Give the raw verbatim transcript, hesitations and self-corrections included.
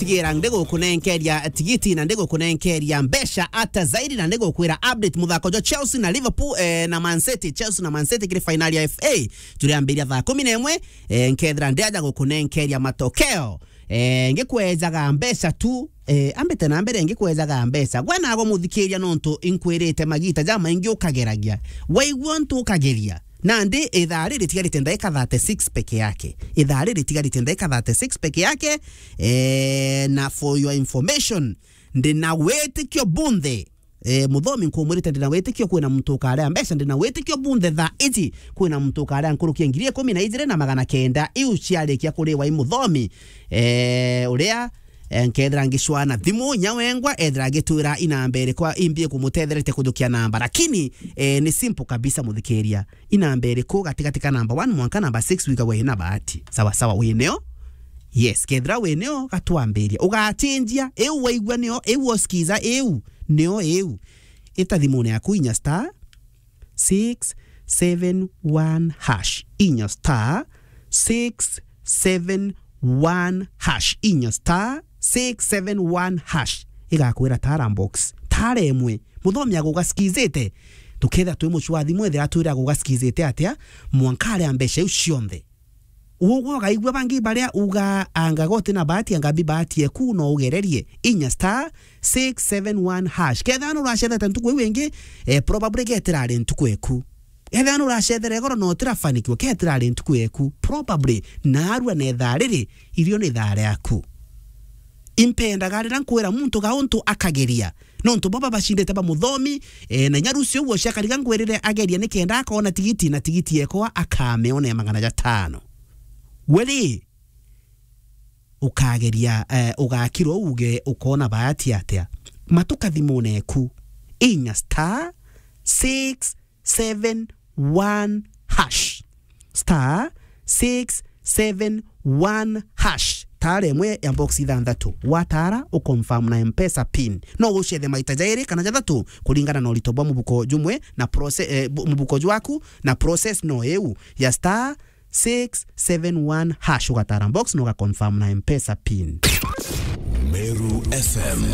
Tigira ndigukunenkeria tigiti na ndigukunenkeria mbeca ata zaidi, na ndigukwira update muthako jwa Chelsea na Liverpool, eh, na Man City. Chelsea na Man City kiri finali ya F A. Turiambiria thaa kumi na imwe, eh, nkethira ndiaja gukunenkeria matokeo. Eh, ngikwejaga mbeca tu, eh, ambite na mbere ngikwejaga mbeca. Gwe nago muthikiria nontu inkwirite magita jamaingi ukageragia. Waigua ntu ukageria. Nandi ithaa riri tigarite ndaika thirty-six peke yake. Ithaa riri tigarite ndaika thirty-six peke yake. Eh, na for your information, ndina witikio bunthe. Eh, muthomi nkumwirite ndina witikio kwina muntu ukaria mbeca, ndina witikio bunthe thaa iji kwina muntu ukaria nkuruki ya ngiri ikumi na ijiri na magana kenda iu ciarikia kuriwa i muthomi. Eh, uria, eh, nkethira ngicwana thimu, inya wengwa, ethira agitwira inamba irikwa imbi ikumutethera ite kujukia namba. Lakini, eh, ni simple kabisa, muthikiria. Inamba iriku gatigati ka namba one mwanka namba six wigagwa ina bahati? Sawa sawa, wi nio? Yes, kethira wi nio, gatwambiria. Ugachinjia, iu waigua nio, iu uskiza, iu nio, iu. Ita thimune yaku inya star six seven one hash. Inya star six seven one hash. Inya star six seven one hash. Igakwira tara box. Tara imwe. Muthomi agugaskizite. Tukethira twi mucwathi mwethira atwira agugaskizite atia, mwanka aria mbeca iu cionthe. Ugwe ugaigua bangi baria uga anga goti na bahati, anga bi bahati eku no ugererie. Inya star six seven one hash. Kethira nuracethete ntuku iu ingi, eh, probably getirari ntuku eku. Ethira nuracethere igoro no utirafanikiwa, getirari ntuku eku. Probably, narua na ithaa riri, irio ni ithaa riaku. Impendaga riria nkwira muntu ga untu akageria. Nontu baba bacindite ba muthomi, eh, na inya rucio ucio akariga ngwirire ageria nikenda akona tigiti, na tigiti ekwa akamiona ya magana jatano. We ri, ukageria, eh, ugakirwa uge ukona bahati atia? Matuka thimune eku. Inya star six seven one hash. Star six seven one hash. Tara imwe ya box ithanthatu. Watara, uconfirm na M-Pesa pin. No ucethe maita jairi kana jathatu kuringana na urito bwa mubuko jumwe na proce-, eh, bu-, mubuko jwaku, na process no iu ya star six seven one hash, ugatara box na ugaconfirm na M-Pesa pin. Meru F M.